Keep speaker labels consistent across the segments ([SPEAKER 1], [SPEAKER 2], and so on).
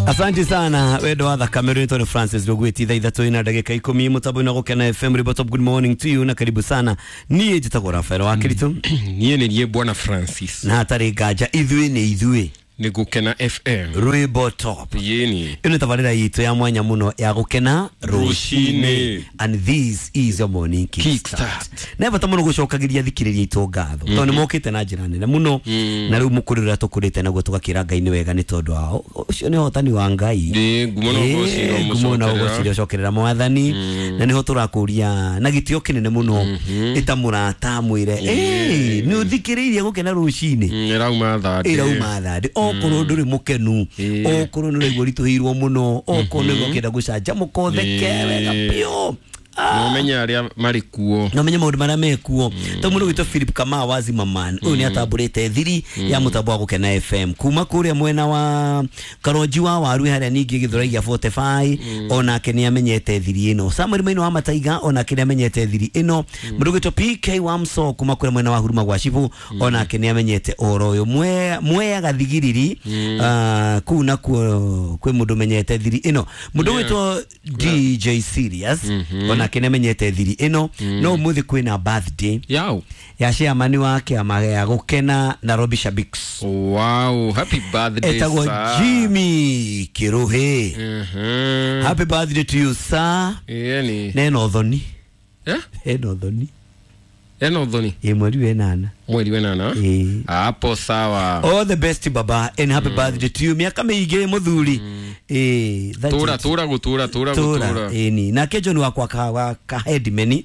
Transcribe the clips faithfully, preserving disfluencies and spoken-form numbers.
[SPEAKER 1] Asante sana wendo wa thakame rwitwo ni Francis Rugwiti thaa ithatũ ina ndagĩka ikũmi mũtambo-inĩ wa Gũkena F M. Ribotop, good morning to you na karibu sana. Niĩ njĩtagwo Rafael wa Kiritu.
[SPEAKER 2] Niĩ nĩ niĩ Bwana Francis.
[SPEAKER 1] Na hatarĩ nganja ithuĩ nĩ ithuĩ
[SPEAKER 2] nĩ Gũkena F M
[SPEAKER 1] Rwĩmbo Top.
[SPEAKER 2] Yeni
[SPEAKER 1] ĩno tabarĩra itũ ya mwanya mũno ya Gũkena rũcinĩ, and this is your morning kickstart. Na bata mũno gũcokagĩria thikĩrĩria itũ ngatho tondũ nĩ mokĩte na njĩra nene mũno, na rĩu mũkũrĩre ũrĩa tũkũrĩte naguo tũgakĩra Ngai nĩ wega nĩ tondũ wao ũcio nĩ ũhotani wa Ngai.
[SPEAKER 2] Ĩ, ngumo na ũgoci
[SPEAKER 1] ngumo na ũgoci ũcokerera Mwathani, na nĩho tũrakũria na gĩtĩo kĩnene mũno ĩta mũrata mwĩre ĩ nĩ ũthikĩrĩirie Gũkena rũcinĩ
[SPEAKER 2] ĩrauma thandĩ
[SPEAKER 1] ĩrauma thandĩ okorwo ndũrĩ mũkenu, okorwo nĩ ũraigua ũritũhĩirwo mũno, okorwo nĩ ũkĩenda gũcanjamũka ũtheke wega biũ,
[SPEAKER 2] no menye arĩa marĩ kuo,
[SPEAKER 1] no menye maũndũ marĩa mekuo. To mũndũ witũ Philip Kamau wa Zimmerman ũyũ nĩ atambũrĩte thiri ya mũtambo wa Gũkena F M kuma kũrĩa mwena wa Karonji wa Waru harĩa ningĩ Gĩthũrai gĩa forty-five, onake nĩ amenyete thiri ĩno. Samuel Maino wa Mataiga onake nĩ amenyete thiri ĩno. Mũndũ witũ P K wa Mso kuma kũrĩa mwena wa Huruma gwa Cibũ onake nĩ amenyete ũhoro ũyũ. Mwe Mwea Gathigiriri kũu nakuo kwĩ mũndũ ũmenyete thiri ĩno. Mũndũ witũ D J Serious onake nĩ amenyete thiri ĩno. No ũmũthĩ kwĩna birthday
[SPEAKER 2] yao
[SPEAKER 1] ya chairman wa kĩama gĩa Gũkena Nairobi Shabiks.
[SPEAKER 2] Wow, happy birthday
[SPEAKER 1] etagwo
[SPEAKER 2] sir.
[SPEAKER 1] Jimmy Kiruhe.
[SPEAKER 2] Mhm.
[SPEAKER 1] Happy birthday to you sir.
[SPEAKER 2] Yeni
[SPEAKER 1] neno thoni
[SPEAKER 2] eh
[SPEAKER 1] eno thoni
[SPEAKER 2] eno thoni
[SPEAKER 1] ĩ mweri wenana
[SPEAKER 2] mweri wenana
[SPEAKER 1] ĩ
[SPEAKER 2] hapo sawa.
[SPEAKER 1] All the best baba and happy birthday to you. Miaka mĩingĩ mũthuri. Eh,
[SPEAKER 2] tura tura gutura tura gutura
[SPEAKER 1] ĩni nake John wakwa ka wa ka headman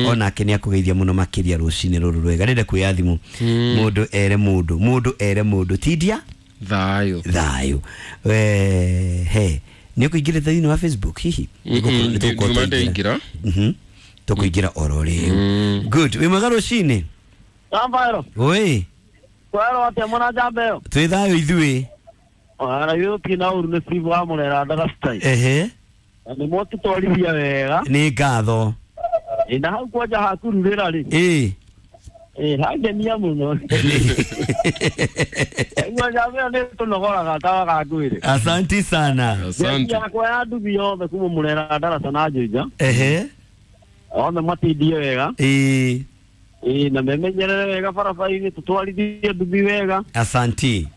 [SPEAKER 1] onake nĩ akũgeithia mũno makĩria rũcinĩ rũrũ rwega. Ndĩrenda kuoya thimũ mũndũ ere mũndũ mũndũ ere mũndũ tindia
[SPEAKER 2] thayo
[SPEAKER 1] thayo. Eh, he nĩ ũkũingĩra thĩinĩ wa Facebook hihi?
[SPEAKER 2] Nĩ tũkũingĩra
[SPEAKER 1] mhm tũkũingĩra oro rĩu. Good, wĩ mwega rũcinĩ?
[SPEAKER 3] Rafael.
[SPEAKER 1] Oi.
[SPEAKER 3] Kwero atĩa mwana njamba ĩyo?
[SPEAKER 1] Twĩ thayũ ithuĩ.
[SPEAKER 3] Ara yo tina uru nĩ Steve wa Murera ndagacitai.
[SPEAKER 1] Ehe.
[SPEAKER 3] Nĩ mwatũtwarithia wega.
[SPEAKER 1] Nĩ ngatho.
[SPEAKER 3] Ĩ na hau kwanja hakururĩra rĩ.
[SPEAKER 1] Ĩ.
[SPEAKER 3] Ĩ hangenia mũno. Igua njamba ĩyo nĩ tũnogoraga tawa ngwĩre.
[SPEAKER 1] Asanti sana.
[SPEAKER 2] Asante.
[SPEAKER 3] Yakwa ya nduthi yothe kuma Murera ndaraca na Juja.
[SPEAKER 1] Ehe.
[SPEAKER 3] Othe matindie wega.
[SPEAKER 1] Ĩ.
[SPEAKER 3] Ĩ na memenyerere wega barabara-inĩ tũtwarithie nduthi wega.
[SPEAKER 1] Asanti.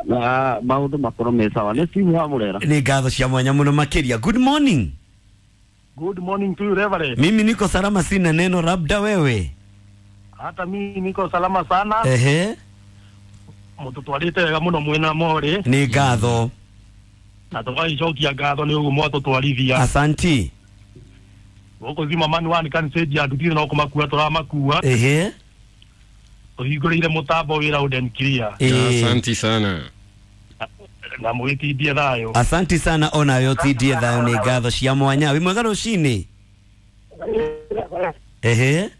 [SPEAKER 3] Na maũndũ makorwo me sawa. Nĩ Steve wa Murera.
[SPEAKER 1] Nĩ ngatho cia mwanya mũno makĩria. Good morning.
[SPEAKER 4] Good morning to you Reverend.
[SPEAKER 1] Mimi niko salama, sina neno, labda wewe.
[SPEAKER 4] Hata mimi niko salama sana.
[SPEAKER 1] Ehe.
[SPEAKER 4] Mũtũtwarĩte wega mũno mwena more.
[SPEAKER 1] Nĩ ngatho.
[SPEAKER 4] Na tũgagĩcokia ngatho nĩ ũguo mwatũtwarithia.
[SPEAKER 1] Asanti.
[SPEAKER 4] Gũkũ Zimmerman one kanitha ya nduthi no kũmakua tũramakua.
[SPEAKER 1] Ehe.
[SPEAKER 4] Tũhingũrĩire mũtambo wĩ loud and clear.
[SPEAKER 2] Asanti sana.
[SPEAKER 4] Na mũgĩtindie thayũ.
[SPEAKER 1] Asanti sana onawe ũtindie thayũ. Nĩ ngatho cia mwanya. Wĩ mwega rũcinĩ? Ehe.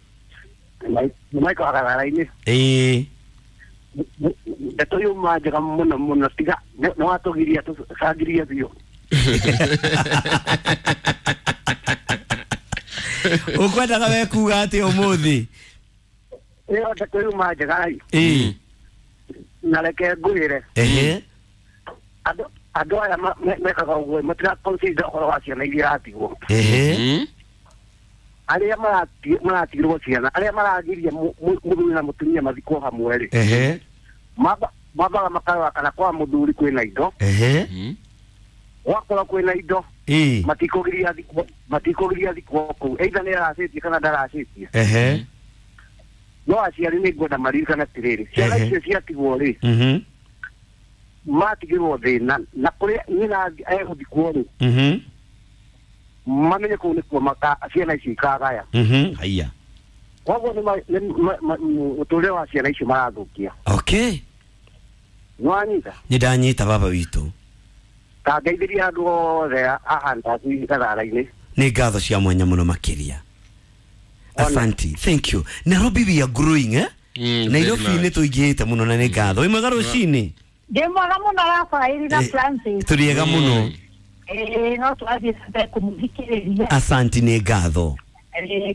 [SPEAKER 5] Nĩ Michael Agarara-inĩ.
[SPEAKER 1] Ĩĩ.
[SPEAKER 5] Ndeto yuma njega mũno mũno tiga nĩ watũgiria tũcangirie biũ.
[SPEAKER 1] Ũkwendaga we kuga atĩa ũmũthĩ?
[SPEAKER 5] Ĩyo ndeto yuma njega.
[SPEAKER 1] Ĩĩ.
[SPEAKER 5] Na reke ngwĩre.
[SPEAKER 1] Ehe.
[SPEAKER 5] Andũ andũ aya mekaga ũguo matira consider ũhoro wa ciana iria iratigwo.
[SPEAKER 1] Ehe.
[SPEAKER 5] Arĩa maratigirwo ciana, arĩa maragiria mũthuri na mũtumia mathikwo hamwe rĩ.
[SPEAKER 1] Ehe.
[SPEAKER 5] Mambaga makarora kana kwa mũthuri kwĩna indo.
[SPEAKER 1] Ehe.
[SPEAKER 5] Gwakorwo kwĩna indo
[SPEAKER 1] Ĩĩ.
[SPEAKER 5] matikũgiria thikwo matikũgiria thikwo kũu either nĩ aracĩtie kana ndaracĩtie.
[SPEAKER 1] Ehe.
[SPEAKER 5] No aciari nĩ ngwenda maririkane atĩrĩrĩ, ciana icio ciatigwo rĩ,
[SPEAKER 1] mhm
[SPEAKER 5] matigirwo thĩna na kũrĩa nyina egũthikwo rĩ,
[SPEAKER 1] mhm
[SPEAKER 5] mamenye kũu nĩkuo maka ciana icio ikagaya.
[SPEAKER 1] Mhm haiya.
[SPEAKER 5] Koguo nĩ mũtũrĩre wa ciana icio marathũkia.
[SPEAKER 1] Okay.
[SPEAKER 5] Nĩwanyita?
[SPEAKER 1] Nĩ ndanyita baba witũ.
[SPEAKER 5] Kangeithĩria andũ othe a Handaci Gathara-inĩ.
[SPEAKER 1] Nĩ ngatho cia mwanya mũno makĩria. Asanti. Thank you. Nairobi we are growing eh?
[SPEAKER 2] Mm,
[SPEAKER 1] Nairobi nĩ tũingĩhĩte mũno na nĩ ngatho. Wĩ mwega rũcinĩ?
[SPEAKER 6] Ndĩ mwega mũno Rafaeli na Francis.
[SPEAKER 1] Tũrĩ ega mũno.
[SPEAKER 6] Ĩĩ no tũrathiĩ na mbere kũmũthikĩrĩria.
[SPEAKER 1] Asanti, nĩ ngatho.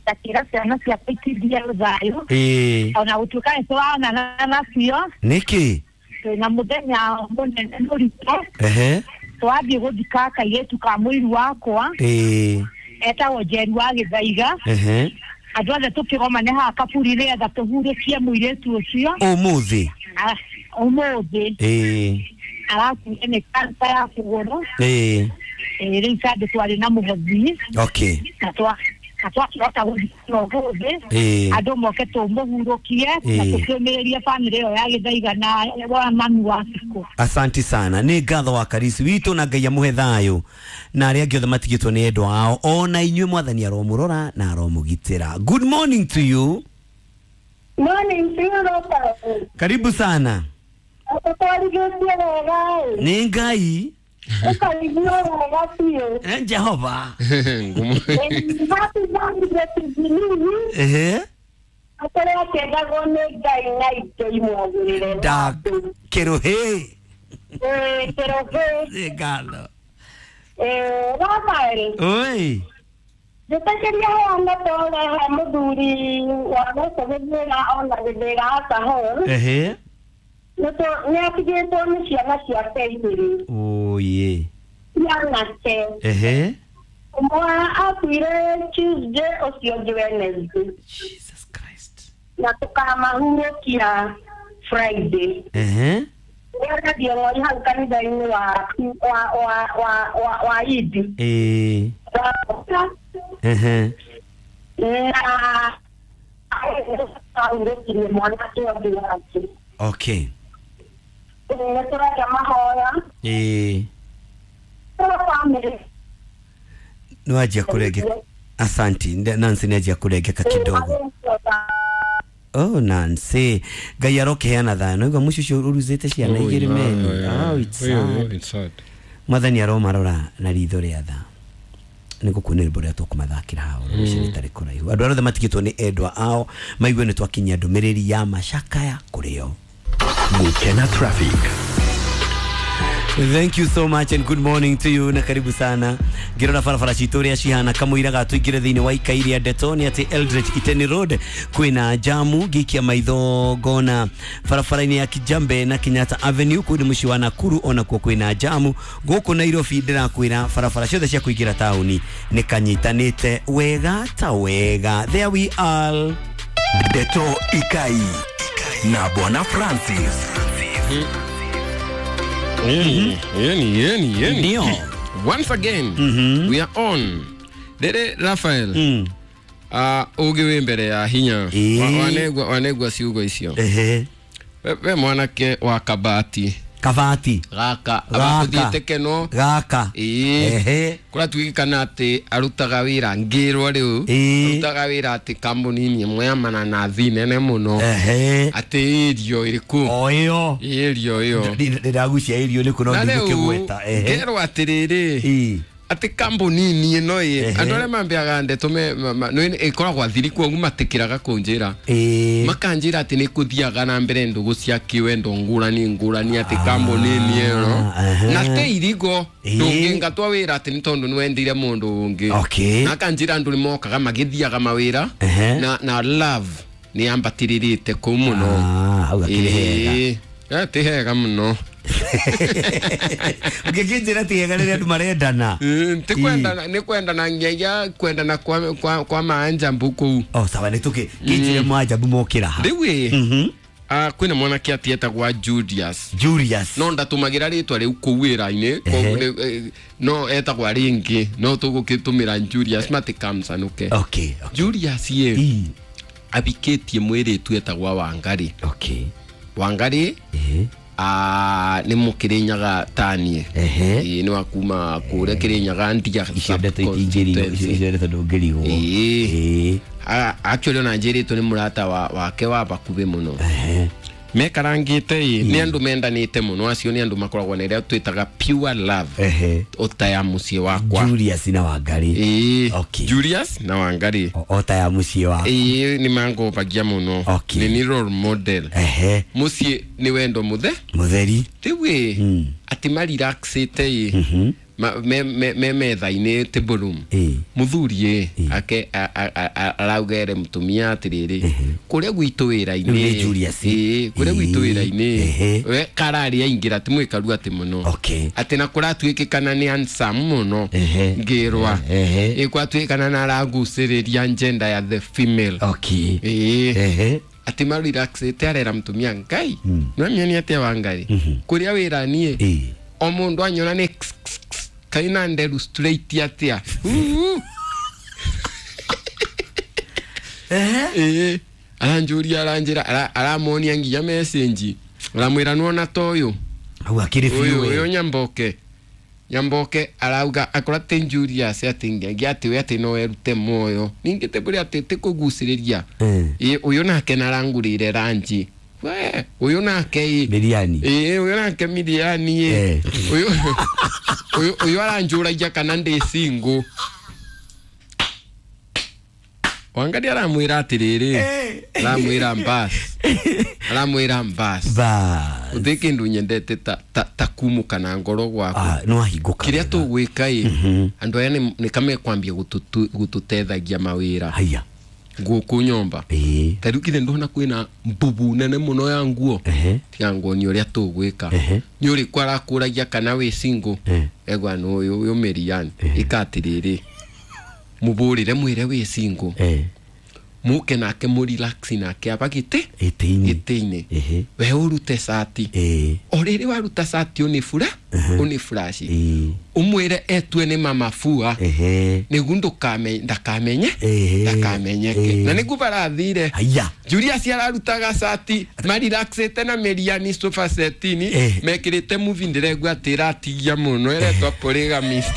[SPEAKER 6] Takĩra ciana ciakwa itindie thayũ.
[SPEAKER 1] Ĩĩ.
[SPEAKER 6] Ona gũtuĩka nĩ tũronana nacio.
[SPEAKER 1] Nĩkĩ?
[SPEAKER 6] Twĩna mũthenya mũnene mũritũ.
[SPEAKER 1] Ehe.
[SPEAKER 6] Twathiĩ gũthika kairĩtu ka mũiru wakwa.
[SPEAKER 1] Ĩĩ.
[SPEAKER 6] Etagwo Njeri wa Gĩthaiga.
[SPEAKER 1] Ehe.
[SPEAKER 6] Andũ othe tũkĩgomane haha kaburi rĩetha tũhurũkie mũirĩtu ũcio.
[SPEAKER 1] Ũmũthĩ.
[SPEAKER 6] Ah, ũmũthĩ.
[SPEAKER 1] Ĩĩ.
[SPEAKER 6] Arakuire nĩ kansa ya kũgũrũ.
[SPEAKER 1] Ĩĩ.
[SPEAKER 6] Ĩĩ, rĩu Sunday twarĩ na mũhothi.
[SPEAKER 1] Okay.
[SPEAKER 6] Na twa na twakĩhota gũthikana ũmũthĩ.
[SPEAKER 1] Ĩĩ.
[SPEAKER 6] Andũ moke tũmũhurũkie na
[SPEAKER 1] Ĩĩ.
[SPEAKER 6] tũkĩũmĩrĩrie bamĩrĩ ĩyo ya Gĩthaiga na wa mami wa Cikũ.
[SPEAKER 1] Asanti sana. Nĩ ngatho wa Karisi witũ na Ngai amũhe thayũ na arĩa angĩ othe matigĩtwo nĩ endwa ao ona inyuĩ mwathani aromũrora na aromũgitĩra. Good morning to you.
[SPEAKER 6] Morning, Sirota.
[SPEAKER 1] Karibu sana.
[SPEAKER 6] Ũtwarithĩtie wega ĩ.
[SPEAKER 1] Nĩ Ngai.
[SPEAKER 6] Ũkarigio wega biũ.
[SPEAKER 1] Eh, Jehova.
[SPEAKER 2] Ngumu.
[SPEAKER 6] Happy birthday to Jubilee.
[SPEAKER 1] Ehe.
[SPEAKER 6] Akorwo akĩendagwo nĩ Ngai na indo imwagĩrĩre.
[SPEAKER 1] Da kĩrũhĩ.
[SPEAKER 6] Ĩĩ, kĩrũhĩ.
[SPEAKER 1] Nĩ ngatho.
[SPEAKER 6] Ĩĩ, Rafael.
[SPEAKER 1] Oi.
[SPEAKER 6] Njĩtĩkĩria heane pole he mũthuri wa gũkũ Gĩthĩra ona Gĩthĩra Alcohol.
[SPEAKER 1] Ehe.
[SPEAKER 6] Nĩ atigĩtwo nĩ ciana ciake igĩrĩ.
[SPEAKER 1] Oye.
[SPEAKER 6] Cianake.
[SPEAKER 1] Ehe.
[SPEAKER 6] Ũmwe akuire Tuesday ũcio ũngĩ Wednesday.
[SPEAKER 1] Jesus Christ.
[SPEAKER 6] Na tũkamahurũkia Friday.
[SPEAKER 1] Ehe.
[SPEAKER 6] Nĩarathiĩ ng'ori hau kanitha-inĩ wa wa wa wa wa wa Idi.
[SPEAKER 1] Ĩĩ. Ehe.
[SPEAKER 6] Na ahurũkirie mwanake ũngĩ wake.
[SPEAKER 1] Okay.
[SPEAKER 6] Nĩ tũreka mahoya.
[SPEAKER 1] Ĩĩ.
[SPEAKER 6] Bamĩrĩ.
[SPEAKER 1] Nĩwanjia kũrengeka. Asanti. Nancy nĩanjia kũrengeka kidogo. Oh Nancy, Ngai arokiheana thayũ. Naigua mũciĩ ũcio ũruzĩte ciana igĩrĩ meni. Oh, it's sad.
[SPEAKER 2] It's sad.
[SPEAKER 1] Mwathani aromarora na ritho rĩa tha. Nĩ ngũkuonia rwĩmbo rũrĩa tũkũmathakĩra haha rũciũ rĩtarĩ kũraihu. Andũ arĩa othe matigĩtwo nĩ endwa ao maigue nĩ twakinyia ndũmĩrĩri ya macakaya kũrĩ o.
[SPEAKER 7] Gukena Traffic.
[SPEAKER 1] Thank you so much and good morning to you na karibu sana. Ngirora barabara citũ ũrĩa cihana kamũira ga tũingĩre thĩinĩ wa ikai rĩa ndeto nĩ atĩ Eldred Iteni Road kwĩna jamu ngĩikia maitho ngona barabara-inĩ ya Kijambe na Kenyatta Avenue kũu nĩ mũciĩ wa Nakuru onakuo kwĩna jamu. Gũkũ Nairobi ndĩrakwĩra barabara ciothe cia kũingĩra taũni nĩ kanyitanĩte wega ta wega. There we are.
[SPEAKER 7] Ndeto Ikai na Bwana Francis.
[SPEAKER 2] Yeni, yeni, yeni, yeni.
[SPEAKER 1] Ndio.
[SPEAKER 2] Once again,
[SPEAKER 1] mm-hmm.
[SPEAKER 2] we are on. Dede Raphael.
[SPEAKER 1] Mm.
[SPEAKER 2] Uh, uge wĩ mbere ya hinya. Wanegwa wanegwa ciugo icio.
[SPEAKER 1] Ehe.
[SPEAKER 2] We, we mwanake wa kabati.
[SPEAKER 1] Kabati.
[SPEAKER 2] Gaka. Abatuthiĩte keno.
[SPEAKER 1] Gaka.
[SPEAKER 2] Ĩĩ.
[SPEAKER 1] Ehe.
[SPEAKER 2] Kũratuĩkana atĩ arutaga wĩra ngĩrwo rĩu. Arutaga wĩra atĩ kambuni-inĩ ĩmwe ya mananathi nene mũno.
[SPEAKER 1] Ehe.
[SPEAKER 2] Atĩ irio ĩrĩkũ?
[SPEAKER 1] O ĩyo.
[SPEAKER 2] Irio ĩyo.
[SPEAKER 1] Ndĩragucia irio nĩkũ no ndigũkĩgweta. Ehe.
[SPEAKER 2] Ngerwo atĩrĩrĩ.
[SPEAKER 1] Ĩĩ.
[SPEAKER 2] Atĩ kambuni-inĩ ĩno ĩ andũ arĩa mambeaga ndeto me ĩkoragwo athiri kwoguo matikĩraga kũnjĩra. Makanjĩra atĩ nĩ kũthiaga na mbere ndũgũ cia kĩwendo ngũrani ngũrani atĩ kambuni-inĩ ĩno na te irigo ndũngĩingatwo wĩra atĩ nĩ tondũ nĩwendire mũndũ ũngĩ.
[SPEAKER 1] Okay.
[SPEAKER 2] Na akanjĩra andũ nĩmokaga magĩthiaga mawĩra na na love nĩ yambatĩrĩrĩte kũu mũno.
[SPEAKER 1] Ah, hau akĩrĩ hega.
[SPEAKER 2] Ĩĩ, ti hega mũno.
[SPEAKER 1] Ũngĩkĩnjĩra ti hega rĩrĩa andũ marendana.
[SPEAKER 2] Ti kwendana, nĩ kwendana nginya kwendana kwa kwa kwa maanjambu kũu.
[SPEAKER 1] Oh, sawa nĩ tũkĩ kĩnjĩre maanjambu mokĩra ha.
[SPEAKER 2] Rĩu ĩ
[SPEAKER 1] Mhm.
[SPEAKER 2] ah kwĩna mwanake atĩ etagwa Julius.
[SPEAKER 1] Julius.
[SPEAKER 2] No ndatũmagĩra rĩtwa rĩu kũu wĩra-inĩ, koguo no etagwa rĩngĩ, no tũgũkĩtũmĩra Julius matikamcanũke.
[SPEAKER 1] Okay, okay.
[SPEAKER 2] Julius ĩ abikĩtie mwĩrĩtu etagwa Wangari.
[SPEAKER 1] Okay.
[SPEAKER 2] Wangari
[SPEAKER 1] eh
[SPEAKER 2] ah nĩ mũkĩrĩnyaga tanie. Ĩĩ nĩ wa kuma kũrĩa Kĩrĩnyaga ndia.
[SPEAKER 1] Icio ndeto itingĩrigwo, icio ndeto ndũngĩrigwo.
[SPEAKER 2] Ĩĩ. Actually ona njĩrĩtwo nĩ mũrata wake wa bakuhĩ mũno. Mekarangĩte ĩ nĩ andũ mendanĩte mũno, acio nĩ andũ makoragwo na ĩrĩa twĩtaga pure love.
[SPEAKER 1] Ehe.
[SPEAKER 2] Ota ya mũciĩ wakwa.
[SPEAKER 1] Julius na Wangari.
[SPEAKER 2] Ĩĩ.
[SPEAKER 1] Okay.
[SPEAKER 2] Julius na Wangari.
[SPEAKER 1] Ota ya mũciĩ wakwa.
[SPEAKER 2] Ĩĩ nĩ mangombagia mũno.
[SPEAKER 1] Okay.
[SPEAKER 2] Nĩ ni role model.
[SPEAKER 1] Ehe.
[SPEAKER 2] Mũciĩ nĩ wendo mũthe.
[SPEAKER 1] Mũtheri.
[SPEAKER 2] Rĩu ĩ atĩ marelaxĩte ĩ me me me metha-inĩ table room muthuri ake araugere mutumia atiriri kuria gwitu wira-inĩ ĩ kuria gwitu wira-inĩ we karari aingira ti mwikaru ati muno ati na kuratuikikana ni handsome muno ngirwa ĩ kwatuikana na araguciriria gender ya the female
[SPEAKER 1] okay
[SPEAKER 2] ĩ ati ma relax arera mutumia ngai no mioni atia wa ngai kuria wira nie o mundu anyona ni kaina nderu straight atia eh eh aranjuria aranjira aramonia nginya message aramwira nuona toyo
[SPEAKER 1] au akiri
[SPEAKER 2] fiu uyu nyamboke nyamboke arauga akora te njuria se ati ngi ati we ati no erute moyo ningi te buri ati te kuguciriria eh uyu nake narangurire ranji we uyu nake
[SPEAKER 1] miliani
[SPEAKER 2] eh uyu nake miliani eh uyu uyu uyu aranjuragia kana ndi single wangadi aramwira atiriri aramwira mbas aramwira mbas
[SPEAKER 1] bas
[SPEAKER 2] uthi kindu nyendete ta ta, ta kumuka na ngoro gwaku
[SPEAKER 1] ah no ahinguka
[SPEAKER 2] kiria tugwika i andu aya ni kamekwambia gututethagia mawira
[SPEAKER 1] haya
[SPEAKER 2] guku nyomba
[SPEAKER 1] eh
[SPEAKER 2] ta riu kithe ndona kwina mbubu nene muno ya nguo tiga nguo ni uria tugwika ni uriku arakuragia kana wi single egwa no uyu uyu Miriam ikatiriri muburire mwire wi single
[SPEAKER 1] eh
[SPEAKER 2] muke nake mu relax nake abagite
[SPEAKER 1] itiini
[SPEAKER 2] itiini we urute sati
[SPEAKER 1] eh
[SPEAKER 2] o riri waruta sati uni fura uni flash umwire etue ni mama fua nigu ndukame ndakamenye ndakamenyeke na nigu barathire
[SPEAKER 1] haya
[SPEAKER 2] Julius ararutaga sati marelaxete na Miriam sofa setini mekirite movie ndiregwa atiratigia muno eretwa polygamist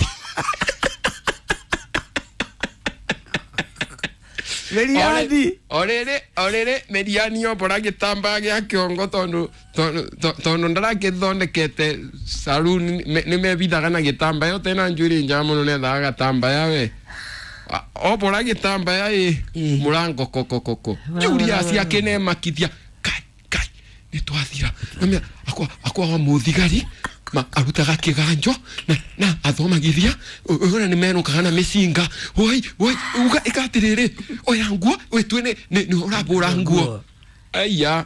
[SPEAKER 1] Meriani
[SPEAKER 2] orere orere Meriani obora gitambaa gia kiongo tondu tondu ndarakithondekete saloon ni mebithaga na gitambaya yo tena njuri nja muno nethaga gatambaya we obora gitambaya i murango kokokoko Julius akinemakithia kai kai ni twathira namia akwa akwa wa muthigari ma arutaga kiganjo na na athomagithia ona ni menukaga na micinga oi oi uga ikatiriri oya nguo witue ni ni urabura nguo aya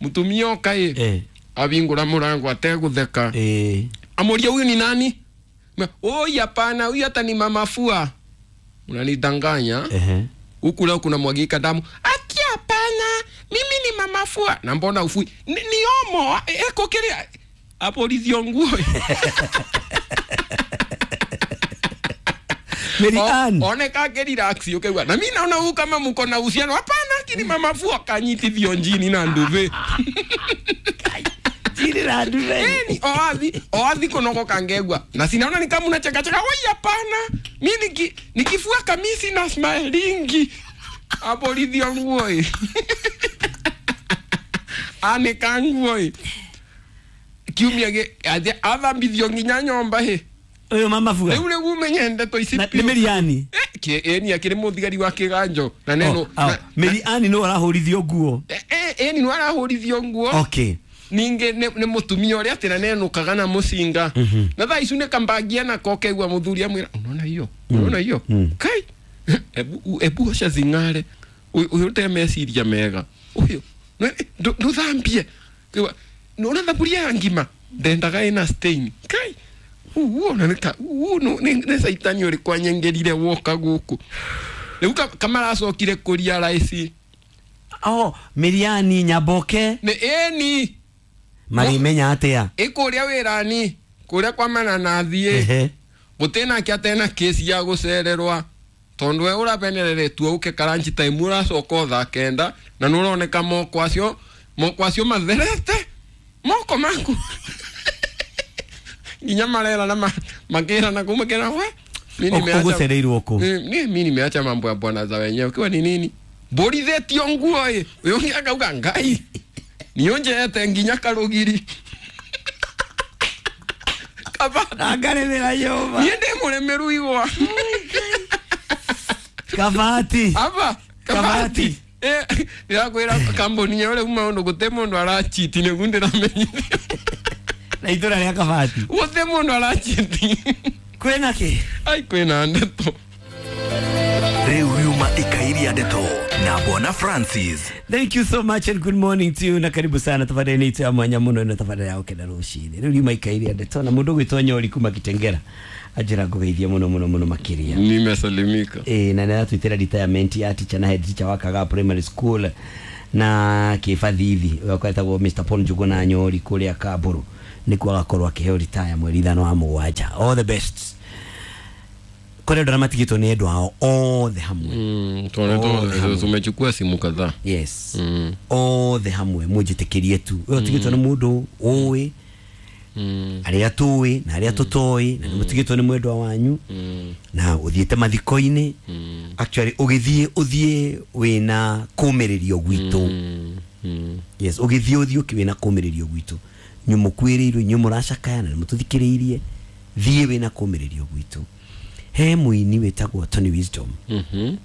[SPEAKER 2] mutumia oka i abingura murango ategutheka
[SPEAKER 1] eh
[SPEAKER 2] amuria huyu ni nani oi hapana huyu hata ni mama fua unanidanganya
[SPEAKER 1] ehe
[SPEAKER 2] huku leo kuna mwagika damu aki hapana mimi ni mama fua na mbona ufui ni, ni omo eko kile apolithio nguo
[SPEAKER 1] Merian
[SPEAKER 2] oneka ke relax ukewa na mimi naona huyu kama mko na uhusiano hapana lakini mama fua kanyitithio njini na nduve
[SPEAKER 1] njini na nduve
[SPEAKER 2] ni oathi oathi kunoko kangegwa na sinaona ni kama unacheka cheka oi hapana mimi niki nikifua kamisi na smilingi apolithio nguo ane kanguo kiumia ge athambithio nginya nyomba he
[SPEAKER 1] uyu mama fua
[SPEAKER 2] riu riu umenye ndeto ici
[SPEAKER 1] ni Meriani
[SPEAKER 2] eh eni akiri muthigari wa kiganjo na neno
[SPEAKER 1] Meriani no arahurithio nguo
[SPEAKER 2] eh eni no arahurithio nguo
[SPEAKER 1] okay
[SPEAKER 2] ninge ni mutumia uria ati na nenukaga na mucinga na thaa icu ni kambangia na kokeigua muthuri amwira unaona hiyo unaona hiyo kai ebu ebu osha zingare uyu te meciria mega uyu nduthambie nona thaburia ya ngima ndendaga ina stain kai uo na nika uo no ne saitani uri kwanyengerire woka guku riu kamaracokire kuria raisi
[SPEAKER 1] oh Miriani Nyaboke
[SPEAKER 2] ne eni
[SPEAKER 1] marimenya atia
[SPEAKER 2] ikuria wirani kuria kwa mananathie gutena kia tena kesi ya gucererwa tondu we urabenereretwo uke karanchi time uracoka thaa kenda na nuroneka moko acio moko acio matherete moko maku nginya marera na makera na kumakera we mimi nimeacha
[SPEAKER 1] ugucereirwo ku
[SPEAKER 2] ni mimi nimeacha mambo ya bwana za wenyewe kiwa ni nini mburithetio nguo ĩ uyu akauga ngai nionjeete nginya karugiri kaba
[SPEAKER 1] ngaremera Jehova
[SPEAKER 2] niĩ ndĩ mũremeru igwa
[SPEAKER 1] kabati
[SPEAKER 2] aba kabati eh ndĩrakwĩra kambuni ĩyo rĩu maũndũ gũtĩ mũndũ arachiti nĩguo ndĩramenyithia
[SPEAKER 1] Na itũra rĩa Kabati.
[SPEAKER 2] Gũthĩ mũndũ arachiti.
[SPEAKER 1] Kwĩna kĩ?
[SPEAKER 2] Ai kwĩna ndeto.
[SPEAKER 7] Rĩu riuma ikairia ndeto na Bwana Francis.
[SPEAKER 1] Thank you so much and good morning to you na karibu sana tafadhali itũ ya mwanya mũno ĩno tafadhali ya gũkena rũcinĩ. Rĩu riuma ikairia ndeto na mũndũ ũgwĩtwo Nyori kuma Kitengera anjĩra ngũgeithie mũno mũno mũno makĩria.
[SPEAKER 2] Nimesalimika.
[SPEAKER 1] Eh, na nĩaratwĩtĩra retirement ya teacher na head teacher wa Kagaa Primary School na kĩbathithi ũrĩa etagwo Mister Paul Njuguna Nyori kũrĩa Kamburu nĩkuo agakorwo akĩheo retire mweri ithano wa mũgwanja. All the best. Kũrĩ andũ arĩa matigĩtwo nĩ endwa ao othe hamwe.
[SPEAKER 2] Mm, tuone
[SPEAKER 1] Othe
[SPEAKER 2] tu tumechukua simu kadhaa.
[SPEAKER 1] Yes.
[SPEAKER 2] Mm.
[SPEAKER 1] Othe hamwe mũnjĩtĩkĩrie tu. Ũyũ ũtigĩtwo nĩ mũndũ ũĩ
[SPEAKER 2] Mm.
[SPEAKER 1] arĩa tũĩ na arĩa tũtoĩ na nĩmũtigĩtwo nĩ mwendwa wanyu
[SPEAKER 2] Mm.
[SPEAKER 1] na ũthiĩte mathiko-inĩ.
[SPEAKER 2] Mm.
[SPEAKER 1] Actually ũgĩthiĩ ũthiĩ wĩna kũmĩrĩrio gwitũ.
[SPEAKER 2] Mm. Mm.
[SPEAKER 1] Yes, ũgĩthiĩ ũthiĩ ũkĩ wĩna kũmĩrĩrio gwitũ. Inyuĩ mũkuĩrĩirwo, inyuĩ mũracakaya na nĩmũtũthikĩrĩirie, thiĩ wĩna kũmĩrĩrio gwitũ. He mũini wĩtagwo Tony Wisdom.
[SPEAKER 2] Mhm.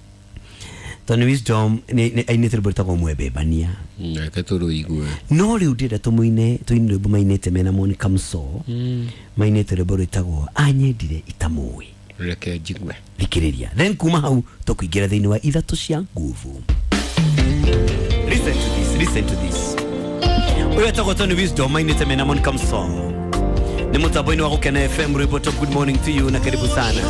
[SPEAKER 1] Tony Wisdom nĩ nĩ ainĩte rwĩmbo rwĩtagwo Mwembembania.
[SPEAKER 2] Reke tũrũigue.
[SPEAKER 1] No rĩu ndĩrenda tũmũine tũine rwĩmbo mainĩte mena Monica Muso.
[SPEAKER 2] Mm.
[SPEAKER 1] Mainĩte rwĩmbo rwĩtagwo Anyendire Itamũĩ.
[SPEAKER 2] Reke njigue.
[SPEAKER 1] Thikĩrĩria. Then kuma hau tũkũingĩra thĩinĩ wa ithatũ cia nguvu. Listen to this, listen to this. Ũyũ etagwo Tony Wisdom mainĩte mena Monica Muso. Nĩ mũtambo-inĩ wa Gũkena F M rwĩmbo top. Good morning to you na karibu sana.